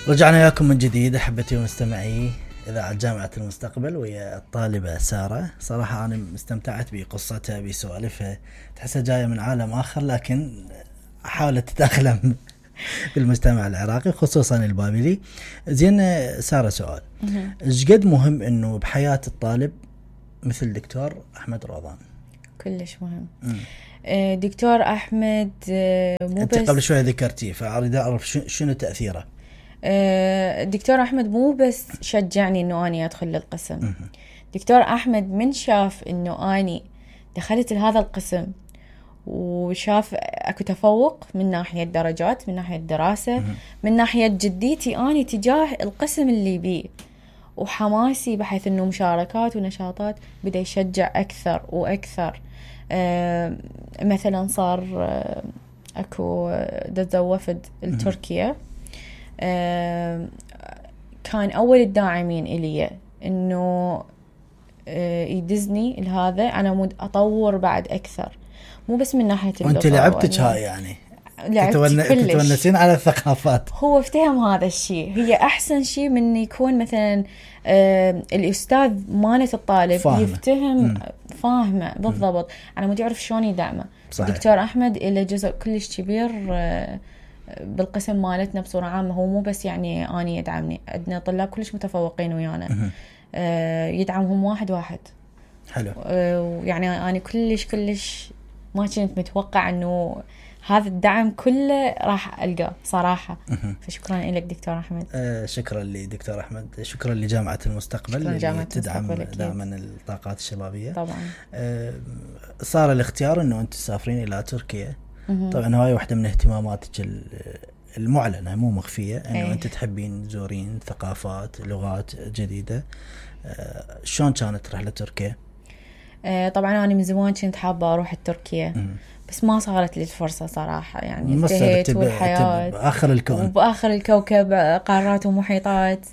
رجعنا وياكم من جديد أحبتي ومستمعي إذاعة جامعة المستقبل ويا الطالبة سارة. صراحة أنا استمتعت بقصتها بسوالفها، تحسها جاية من عالم آخر لكن حاولت تتأقلم بالمجتمع العراقي خصوصا البابلي. زين سارة، سؤال إيش قد مهم إنه بحياة الطالب مثل دكتور أحمد روضان؟ كلش مهم. دكتور أحمد مو أنت بس قبل شوية ذكرتيه، فأريد أعرف شنو تأثيره. دكتور أحمد مو بس شجعني إنه أني أدخل للقسم. دكتور أحمد من شاف إنه أني دخلت لهذا القسم وشاف أكو تفوق من ناحية درجات، من ناحية دراسة، من ناحية جديتي أني تجاه القسم اللي بيه وحماسي بحيث إنه مشاركات ونشاطات، بدأ يشجع أكثر وأكثر. مثلا صار أكو دزا وفد التركيا، كان أول الداعمين إلي إنه يدزني لهذا أنا أطور بعد أكثر، مو بس من ناحية اللغة. وأنت لعبتك هاي يعني تتونسين على الثقافات. هو افتهم هذا الشيء، هي أحسن شيء من يكون مثلا الأستاذ مالة الطالب يفتهم فاهمه بالضبط. أنا ما تعرف شلون يدعمه. دكتور أحمد إله جزء كلش كبير بالقسم مالتنا بصورة عامة. هو مو بس يعني أني يدعمني، عندنا طلاب كلش متفوقين ويانا، يدعمهم واحد واحد. حلو. يعني أنا كلش ما كنت متوقع إنه هذا الدعم كله راح ألقاه صراحة. فشكرا لك دكتور أحمد. شكرا لدكتور أحمد، شكرا لجامعة المستقبل اللي تدعم دائما الطاقات الشبابية. طبعا. صار الاختيار إنه أنت تسافرين إلى تركيا. طبعا هاي واحدة من اهتماماتك المعلنة مو مخفية، إنه أنت تحبين تزورين ثقافات، لغات جديدة. شلون كانت رحلة تركيا؟ طبعا أنا من زمان كنت حابة أروح تركيا، بس ما صارت لي الفرصة صراحة. يعني انتهيت والحياة بآخر الكون وبآخر الكوكب، قارات ومحيطات.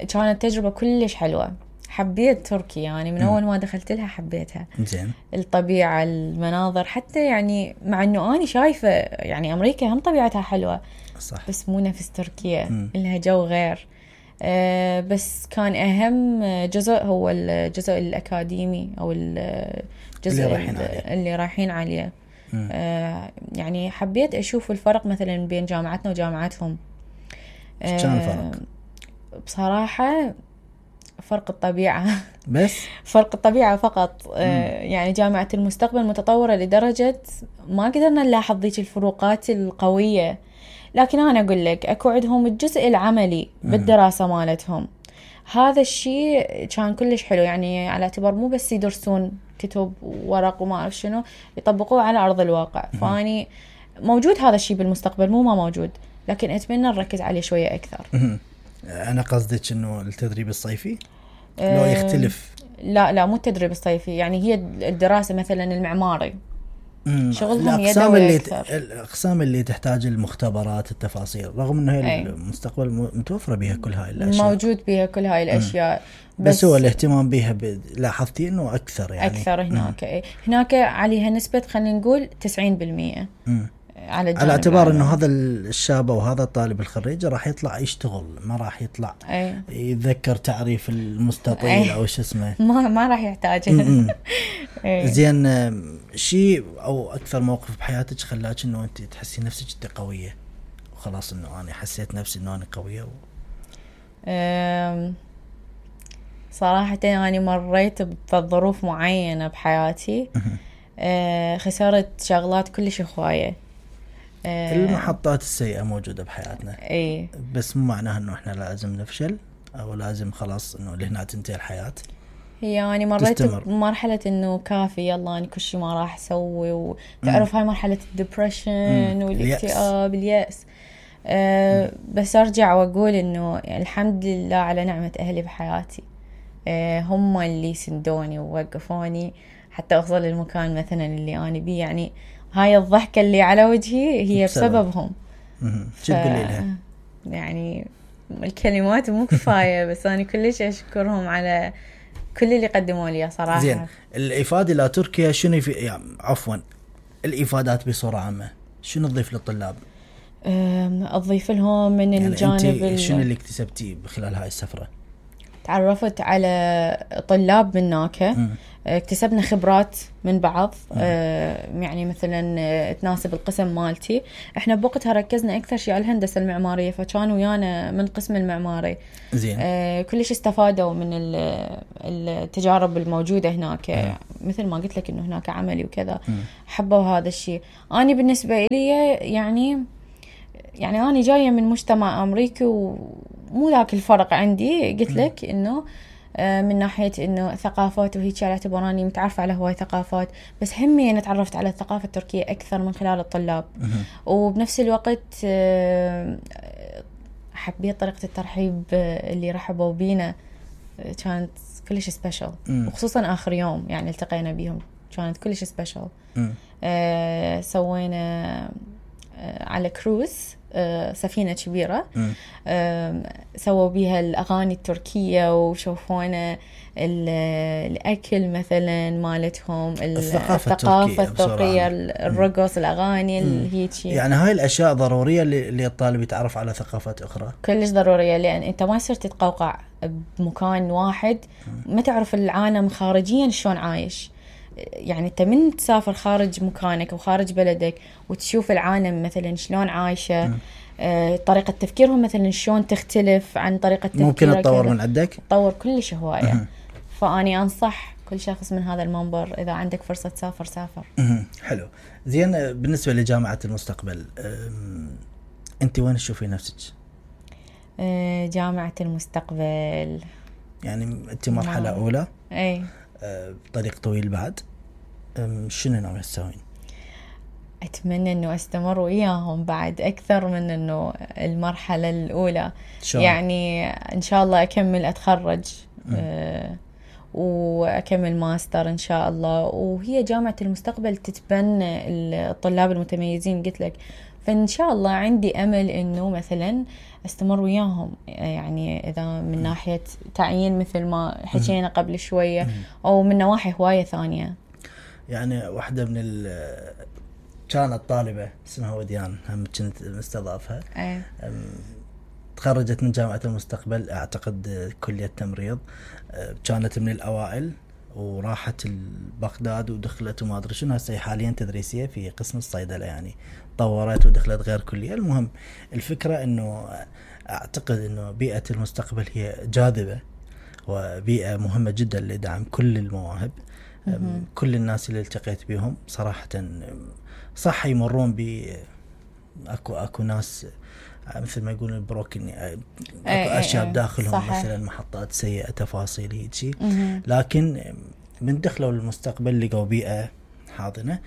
كانت تجربة كلش حلوة، حبيت تركيا يعني من أول ما دخلت لها حبيتها. زين. الطبيعة، المناظر، حتى يعني مع أنه أنا شايفة يعني أمريكا هم طبيعتها حلوة صح، بس مو نفس تركيا، لها جو غير. بس كان أهم جزء هو الجزء الأكاديمي أو الجزء اللي رايحين عليه. يعني حبيت أشوف الفرق مثلا بين جامعتنا وجامعتهم. كان الفرق بصراحة فرق الطبيعة بس فرق الطبيعة فقط. يعني جامعة المستقبل متطورة لدرجة ما قدرنا نلاحظ ذيك الفروقات القوية، لكن أنا أقول لك أكو عندهم الجزء العملي بالدراسة مالتهم. هذا الشيء كان كلش حلو، يعني على اعتبار مو بس يدرسون كتب وورق وما أعرف شنو، يطبقوه على أرض الواقع. فاني موجود هذا الشيء بالمستقبل، مو ما موجود، لكن أتمنى نركز عليه شوية أكثر. أنا قصدك إنه التدريب الصيفي لو يختلف. لا مو التدريب الصيفي، يعني هي الدراسة مثلا المعماري شغلهم يدوي أكثر. الأقسام اللي تحتاج المختبرات، التفاصيل، رغم أنه هي المستقبل متوفرة بها كل هاي الأشياء، موجود بها كل هاي الأشياء. بس هو الاهتمام بها لاحظتي أنه أكثر، يعني أكثر هناك عليها نسبة خلينا نقول 90% على اعتبار انه هذا الشاب وهذا الطالب الخريج راح يطلع يشتغل، ما راح يطلع يتذكر تعريف المستطيل او شو اسمه، ما راح يحتاجه. زين، شيء او اكثر موقف بحياتك خلاك انه انت تحسي نفسك قويه وخلاص انه انا حسيت نفسي انه انا قويه صراحه انا مريت بظروف معينه بحياتي، خسرت شغلات كلش هوايه. المحطات السيئة موجودة بحياتنا، بس مو معناها انه احنا لازم نفشل او لازم خلاص انه لهنا تنتهي الحياة. هي يعني مريت بمرحلة انه كافي يلا انا كل شيء ما راح اسوي، وتعرف هاي مرحلة الدبريشن والاكتئاب، اليأس. بس ارجع واقول انه الحمد لله على نعمة اهلي بحياتي، هم اللي سندوني ووقفوني حتى اوصل للمكان مثلا اللي انا بيه. يعني هاي الضحكة اللي على وجهي هي بسببهم. شو تقولي لها؟ يعني الكلمات مو كفاية، بس أنا كلش أشكرهم على كل اللي قدموا لي صراحة. زين، الإفادة إلى تركيا شنو يعني عفوا الإفادات بصورة عامة شنو تضيف للطلاب؟ أضيف لهم من يعني الجانب أنت شنو اللي اكتسبتيه بخلال هاي السفرة؟ تعرفت على طلاب من هناك، اكتسبنا خبرات من بعض، يعني مثلا تناسب القسم مالتي. احنا بوقتها ركزنا اكثر شيء على الهندسة المعمارية، فكانوا ويانا من قسم المعماري. زين. كلش استفادوا من التجارب الموجودة هناك. مثل ما قلت لك انه هناك عملي وكذا، حبوا هذا الشيء. اني بالنسبة لي يعني أنا جاية من مجتمع أمريكي ومو ذاك الفرق عندي. قلت لك إنه من ناحية إنه ثقافات وهيك، على اعتبار أني متعرفة على هواي ثقافات، بس همي أنا تعرفت على الثقافة التركية أكثر من خلال الطلاب. وبنفس الوقت حبيت طريقة الترحيب اللي رحبوا بينا، كانت كلش سبيشل، وخصوصا آخر يوم يعني التقينا بيهم كانت كلش سبيشل. سوينا على كروز، سفينة كبيرة، سووا بيها الأغاني التركية، وشوفونا الأكل مثلا مالتهم، الثقافة التركية، الرقص، الأغاني هيك. يعني هاي الأشياء ضرورية اللي الطالب يتعرف على ثقافات أخرى، كلش ضرورية، لأن أنت ما يصير تتقوقع بمكان واحد، ما تعرف العالم خارجيا شلون عايش. يعني أنت من تسافر خارج مكانك وخارج بلدك وتشوف العالم مثلا شلون عايشة، طريقة تفكيرهم مثلا شلون تختلف عن طريقة تفكيرك، ممكن تطور من عندك، تطور كلش هواية. فأني أنصح كل شخص من هذا المنبر إذا عندك فرصة تسافر سافر. حلو. زين، بالنسبة لجامعة المستقبل، أنت وين تشوفي نفسك؟ جامعة المستقبل يعني أنت مرحلة أولى، أي طريق طويل بعد، شنو ناوي تسوين؟ أتمنى أنه أستمر وياهم بعد أكثر من أنه المرحلة الأولى. يعني إن شاء الله أكمل أتخرج، وأكمل ماستر إن شاء الله. وهي جامعة المستقبل تتبنى الطلاب المتميزين قلت لك، فإن شاء الله عندي أمل أنه مثلا استمر وياهم، يعني إذا من ناحية تعيين مثل ما حكينا قبل شوية، أو من نواحي هواية ثانية. يعني واحدة من كانت طالبة اسمها وديان، هم كنت مستضافها، تخرجت من جامعة المستقبل، أعتقد كلية تمريض، كانت من الأوائل، وراحت بغداد ودخلت وما أدري شنو، هسه حاليا تدريسية في قسم الصيدلة، يعني طورت ودخلت غير كلية. المهم الفكرة إنه أعتقد إنه بيئة المستقبل هي جاذبة وبيئة مهمة جدا لدعم كل المواهب. كل الناس اللي التقيت بهم صراحة صح يمرون أكو ناس مثل ما يقولون بروكن، أكو أشياء بداخلهم صحيح. مثلا محطات سيئة، تفاصيل هيجي، لكن من دخلوا للمستقبل لقوا بيئة حاضنة،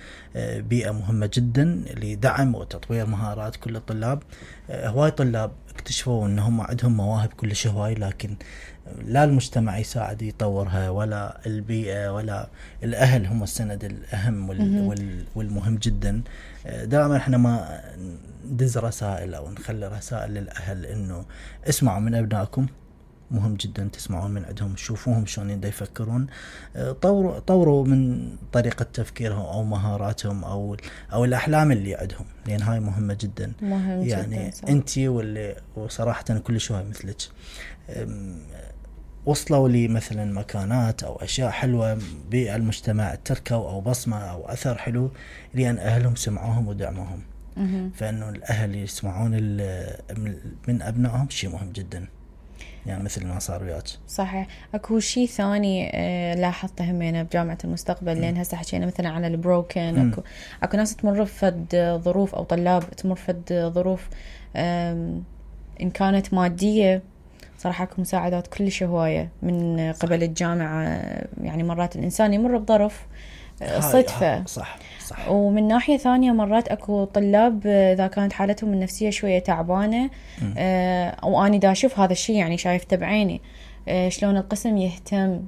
بيئة مهمة جدا لدعم وتطوير مهارات كل الطلاب. هواي طلاب اكتشفوا انهم عندهم مواهب كلش هواي، لكن لا المجتمع يساعد يطورها، ولا البيئة، ولا الأهل هم السند الأهم والمهم جدا. دائما احنا ما ندز رسائل أو نخلي رسائل للأهل إنه اسمعوا من أبنائكم، مهم جدا تسمعون من عندهم، شوفوهم شلون يفكرون، طوروا من طريقة تفكيرهم أو مهاراتهم أو الأحلام اللي عندهم، لأن هاي مهمة جدا. مهم يعني جداً أنتي وصراحة كل شوي مثلك وصلوا لي مثلا مكانات أو أشياء حلوة بالمجتمع، تركوا أو بصمة أو أثر حلو لأن أهلهم سمعوهم ودعموهم. فإنه الأهل يسمعون من أبنائهم شيء مهم جدا، يعني مثل ما صار وياك. صحيح. اكو شيء ثاني لاحظته همينه بجامعة المستقبل، لان هسه حكينا مثلا على البروكن، اكو ناس تمر بفد ظروف، او طلاب تمر بفد ظروف ان كانت مادية. صراحة اكو مساعدات كلش هواية من قبل الجامعة، يعني مرات الانسان يمر بظرف صدفة، صح. ومن ناحية ثانية مرات اكو طلاب اذا كانت حالتهم النفسية شوية تعبانة، واني دا اشوف هذا الشيء، يعني شايفته بعيني، شلون القسم يهتم،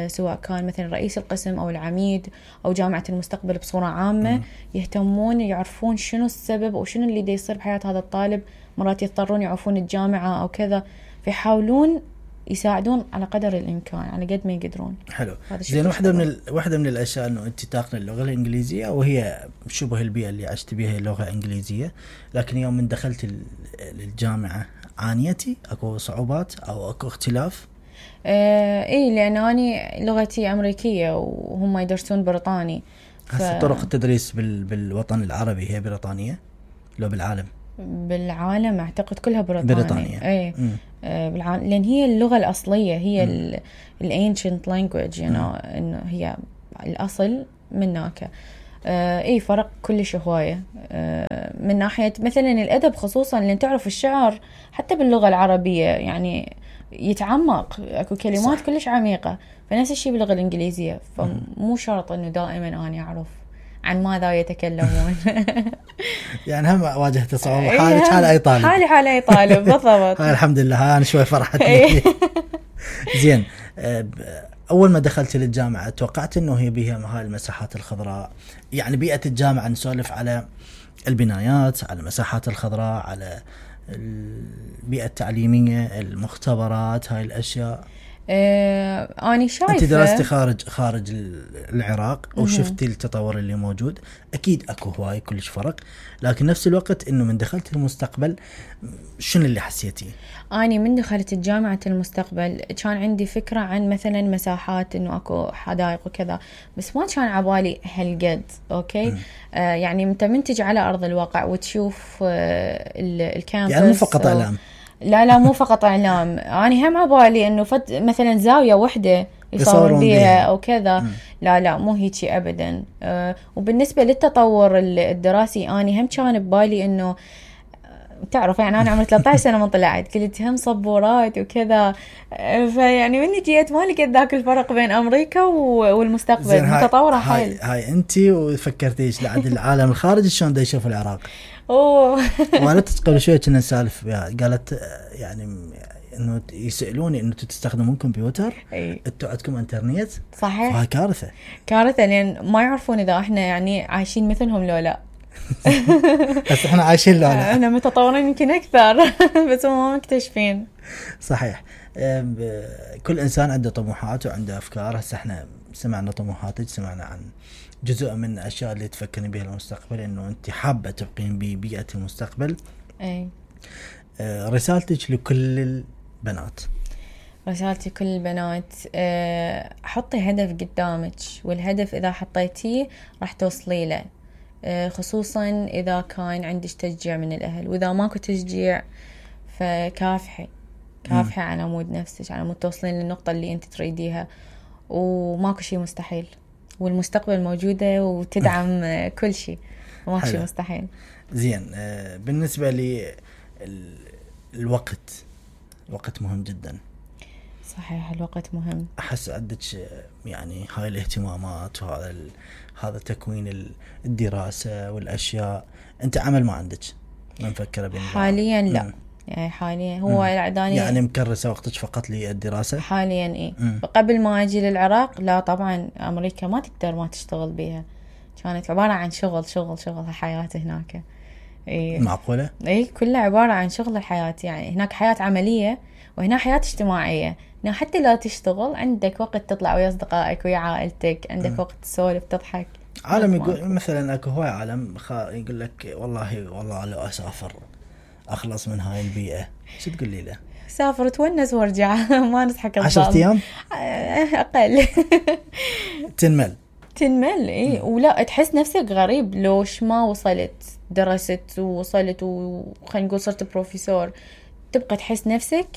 سواء كان مثلا رئيس القسم او العميد او جامعة المستقبل بصورة عامة، يهتمون يعرفون شنو السبب او شنو اللي دا يصير بحياة هذا الطالب. مرات يضطرون يعرفون الجامعة او كذا، فيحاولون يساعدون على قدر الامكان على قد ما يقدرون. حلو. زين، واحده من الاشياء انه انت تاخذ اللغه الانجليزيه وهي شبه البيئه اللي عشت بها لغه انجليزيه، لكن يوم من دخلت الجامعه عانيتي؟ اكو صعوبات او اكو اختلاف؟ ايه، لان اني لغتي امريكيه وهم يدرسون بريطاني. هسه طرق التدريس بالوطن العربي هي بريطانيه لو بالعالم؟ بالعالم اعتقد كلها بريطانية. ايه بالعالم، لان هي اللغه الاصليه، هي الانشنت لانجويج، انه هي الاصل مناك. ايه، فرق كلش هوايه من ناحيه مثلا الادب، خصوصا لان تعرف الشعر حتى باللغه العربيه يعني يتعمق، اكو كلمات صح. كلش عميقه. فنفس الشيء باللغه الانجليزيه، فمو شرط انه دائما اني اعرف عن ماذا يتكلمون. يعني هم واجهت صعوبة حال أي طالب. حال أي طالب بالضبط. هاي الحمد لله، أنا شوي فرحتني. زين، أول ما دخلت للجامعة توقعت إنه هي بها هاي المساحات الخضراء، يعني بيئة الجامعة نسولف على البنايات، على المساحات الخضراء، على البيئة التعليمية، المختبرات، هاي الأشياء. أنا شايفة أنت درستي خارج العراق وشفتي التطور اللي موجود، أكيد أكو هواي كلش فرق، لكن نفس الوقت إنه من دخلت المستقبل شنو اللي حسيتيه؟ أنا من دخلت الجامعة المستقبل كان عندي فكرة عن مثلا مساحات، إنه أكو حدائق وكذا، بس ما كان عبالي هالقد. أوكي. يعني أنت منتج على أرض الواقع وتشوف الكامبس، يعني مو فقط إعلام. لا مو فقط إعلام. أنا هم عبالي إنه مثلا زاوية واحدة يصورون بيها أو كذا. لا مو هيك أبدا. وبالنسبة للتطور الدراسي، أنا هم كان ببالي إنه تعرف يعني أنا عمري 13 سنة من طلعت، قلت هم صبورات وكذا. فيعني مني جيت ما لقيت ذاك الفرق بين أمريكا والمستقبل، متطورة حيل. هاي أنتي وفكرتيش لعد العالم الخارجي شلون دا يشوف العراق؟ والدتي قبل شوية كنا نسالف، قالت يعني انه يسالوني انه تستخدمون كمبيوتر، انتوا عندكم انترنت؟ صحيح. فهاي كارثه لان ما يعرفون اذا احنا يعني عايشين مثلهم لو لا. بس احنا عايشين لو لا، احنا متطورين يمكن اكثر. بس هم ما مكتشفين. صحيح. كل انسان عنده طموحات وعنده افكار. هسه احنا سمعنا طموحاتك، سمعنا عن جزء من الاشياء اللي تفكرين بها المستقبل، انه انت حابه تبقين ببيئه المستقبل. اي. رسالتك لكل البنات؟ رسالتي كل البنات، حطي هدف قدامك، والهدف اذا حطيتيه راح توصلي له، خصوصا اذا كان عندك تشجيع من الاهل، واذا ماكو تشجيع فكافحي على مود نفسك، على مود توصلين للنقطة اللي انت تريديها، وماكو شيء مستحيل، والمستقبل موجودة وتدعم كل شيء، ماكو شيء مستحيل. زين، بالنسبة لي الوقت مهم جدا. صحيح، الوقت مهم. أحس عندك يعني هاي الاهتمامات وهذا تكوين الدراسة والأشياء، أنت عمل ما عندك؟ ما مفكرة بين حاليا لا. يعني حاليا هو يعني مكرسة وقتك فقط للدراسة حاليا. إيه. قبل ما أجي للعراق لا طبعا أمريكا ما تقدر ما تشتغل بيها، كانت عبارة عن شغل حياتي هناك. إيه. معقولة؟ إيه، كلها عبارة عن شغل الحياة. يعني هناك حياة عملية وهنا حياة اجتماعية. هنا حتى لا تشتغل عندك وقت تطلع ويا أصدقائك ويا عائلتك، عندك وقت تسولف تضحك. عالم يقول مثلا اكو هواي عالم يقول لك والله لو اسافر اخلص من هاي البيئة، شو تقول لي له؟ سافر تونس وارجع. ما نضحك 10 أيام اقل. تنمل. ايه. ولا تحس نفسك غريب لوش ما وصلت درست ووصلت وخلينا نقول صرت بروفيسور، تبقى تحس نفسك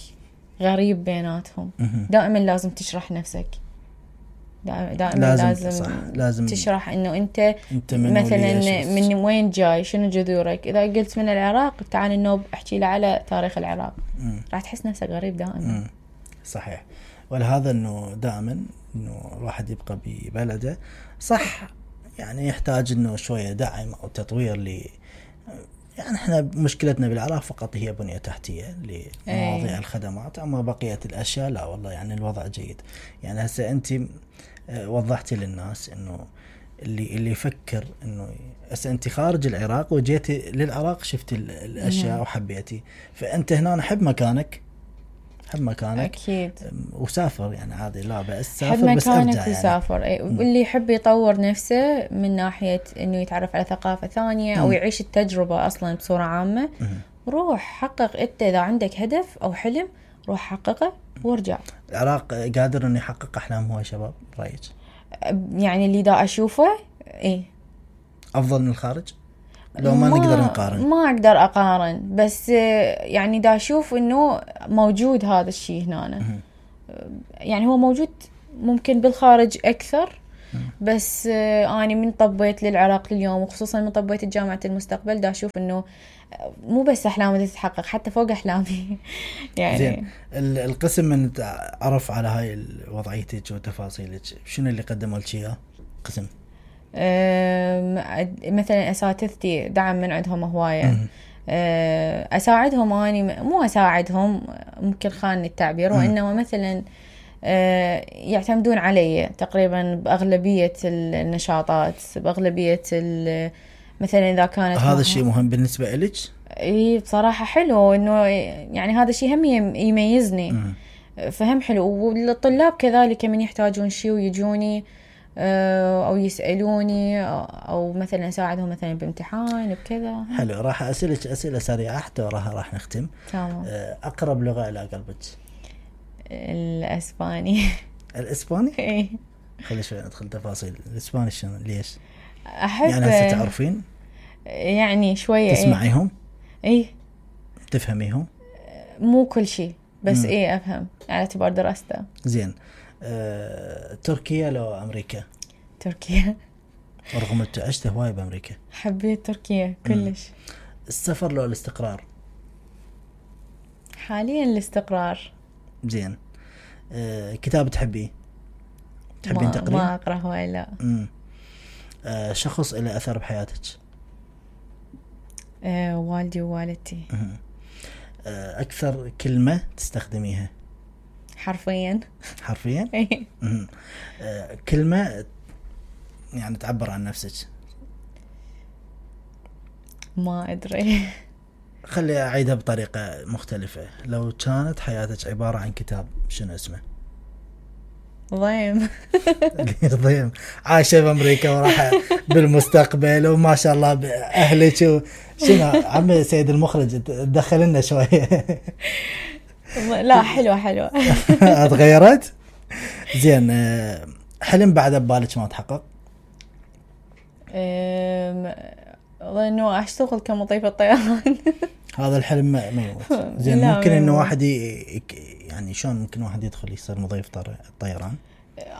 غريب بيناتهم. دائما لازم تشرح نفسك، دائما لازم تشرح انه انت مثلا من وين جاي، شنو جذورك. اذا قلت من العراق تعال النوب احكي له على تاريخ العراق، راح تحس نفسك غريب دائما. صحيح. ولهذا انه دائما انه الواحد يبقى ببلده صح، يعني يحتاج انه شويه دعم او تطوير يعني احنا مشكلتنا بالعراق فقط هي بنية تحتية لمواضيع الخدمات، اما بقية الاشياء لا والله يعني الوضع جيد. يعني هسه انت وضحتي للناس انه اللي يفكر انه هسه انت خارج العراق وجيتي للعراق شفتي الاشياء وحبيتي، فانت هنا نحب مكانك حب مكانك اكيد. وسافر يعني عادي، لا بأس حب سافر بس ارجع مكانك يعني. وسافر. واللي يحب يطور نفسه من ناحية انه يتعرف على ثقافة ثانية او يعيش التجربة اصلا بصورة عامة، روح حقق. انت اذا عندك هدف او حلم روح حققه وارجع. العراق قادر انه يحقق احلام هو شباب رايك؟ يعني اللي دا اشوفه ايه افضل من الخارج؟ لو ما نقدر نقارن، ما اقدر اقارن، بس يعني دا اشوف انه موجود هذا الشيء هنا. يعني هو موجود ممكن بالخارج اكثر، بس اني من طبيت للعراق اليوم، وخصوصا من طبيت جامعة المستقبل، دا اشوف انه مو بس احلامي تتحقق، حتى فوق احلامي. يعني زين القسم من تعرف على هاي وضعيتك وتفاصيلك، شنو اللي قدموا لك اياه قسم؟ مثلا اساتذتي دعم من عندهم هوايه. اساعدهم، اني مو اساعدهم ممكن خانني التعبير، وانما مثلا يعتمدون علي تقريبا باغلبيه النشاطات، باغلبيه مثلا اذا كانت هذا الشيء مهم بالنسبه لك؟ اي بصراحه حلو انه يعني هذا الشيء هم يميزني. فهم حلو. والطلاب كذلك من يحتاجون شيء ويجوني او يسالوني، او مثلا اساعدهم مثلا بامتحان بكذا. حلو. راح اسالك اسئله سريعه حتى راح نختم. تمام. اقرب لغه الى قلبك؟ الاسباني. الاسباني؟ اي. خلي شوي ندخل تفاصيل. الاسباني شنو ليش؟ احب يعني هسه تعرفين يعني شويه. تسمعيهم؟ اي. تفهميهم؟ مو كل شيء بس اي افهم على اعتبار دراسته. زين. تركيا لو امريكا؟ تركيا. رغم انت عشت هواي بامريكا. حبيت تركيا كلش. السفر لو الاستقرار؟ حاليا الاستقرار. زين. كتاب تحبين تقرين؟ ما اقرا هواي لا. شخص له اثر بحياتك؟ والدي ووالدتي. اكثر كلمه تستخدميها؟ حرفيا. حرفيا؟ اي. كلمه يعني تعبر عن نفسك؟ ما ادري. خلي اعيدها بطريقه مختلفه. لو كانت حياتك عباره عن كتاب شنو اسمه؟ ضيم. ضيم. عايشه بامريكا وراح بالمستقبل وما شاء الله باهلك شنو عمي سيد المخرج تدخل لنا شويه. لا حلوه. تغيرت. زين. حلم بعد ببالك ما تحقق؟ انه اشتغل كمضيفة طيران. هذا الحلم ما يموت. زين. ممكن انه واحد يعني شلون ممكن واحد يدخل يصير مضيف طيران؟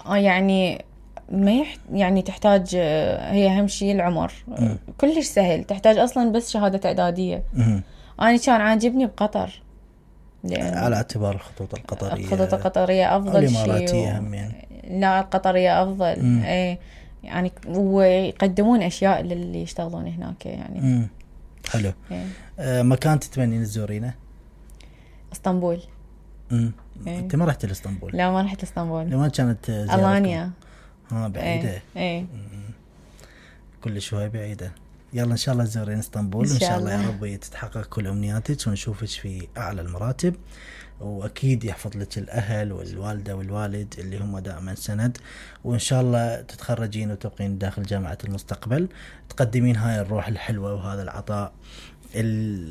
يعني ما يعني تحتاج، هي اهم شيء العمر. كلش سهل، تحتاج اصلا بس شهادة اعدادية. انا كان عاجبني بقطر على اعتبار الخطوط القطرية افضل شيء. الاماراتية همين. لا القطرية افضل. اي يعني ويقدمون اشياء للي يشتغلون هناك يعني. حلو. مكان تتمنين تزورينه؟ اسطنبول. انت ما رحت لاسطنبول؟ لا ما رحت لاسطنبول. لما كانت ألانيا. بعيدة. كل شوي بعيدة. يلا ان شاء الله تزورين اسطنبول ان شاء الله يا رب تتحقق كل امنياتك ونشوفك في اعلى المراتب، واكيد يحفظ لك الاهل والوالده والوالد اللي هم دائما سند، وان شاء الله تتخرجين وتبقين داخل جامعه المستقبل تقدمين هاي الروح الحلوه وهذا العطاء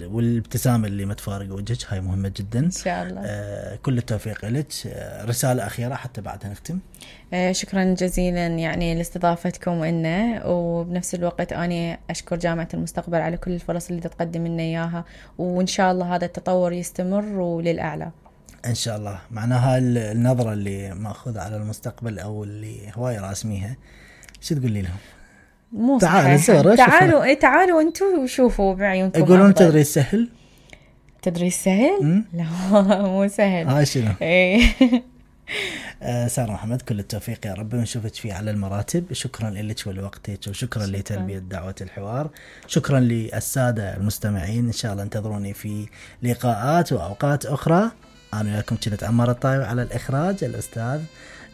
والابتسامه اللي ما تفارق وجهك. هاي مهمه جدا ان شاء الله. كل التوفيق لك. رساله اخيره حتى بعدها نختم. شكرا جزيلا يعني لاستضافتكم لنا، وبنفس الوقت أنا أشكر جامعة المستقبل على كل الفرص اللي تقدم لنا إياها، وإن شاء الله هذا التطور يستمر وللأعلى إن شاء الله. معناها النظرة اللي مأخوذة على المستقبل أو اللي هواي راسميها شو تقولي لهم؟ مو تعالوا أنتوا وشوفوا بعيونكم. يقولون تدريس سهل؟ تدريس سهل؟ لا مو سهل. هاي شنو؟ سارة محمد كل التوفيق يا رب ونشوفك فيه على المراتب. شكرا لك ولوقتك، وشكرا لتلبية دعوة الحوار. شكرا للسادة المستمعين. إن شاء الله انتظروني في لقاءات وأوقات أخرى. أنا وياكم كنت عمار الطايب، على الإخراج الأستاذ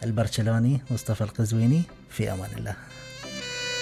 البرشلوني مصطفى القزويني. في أمان الله.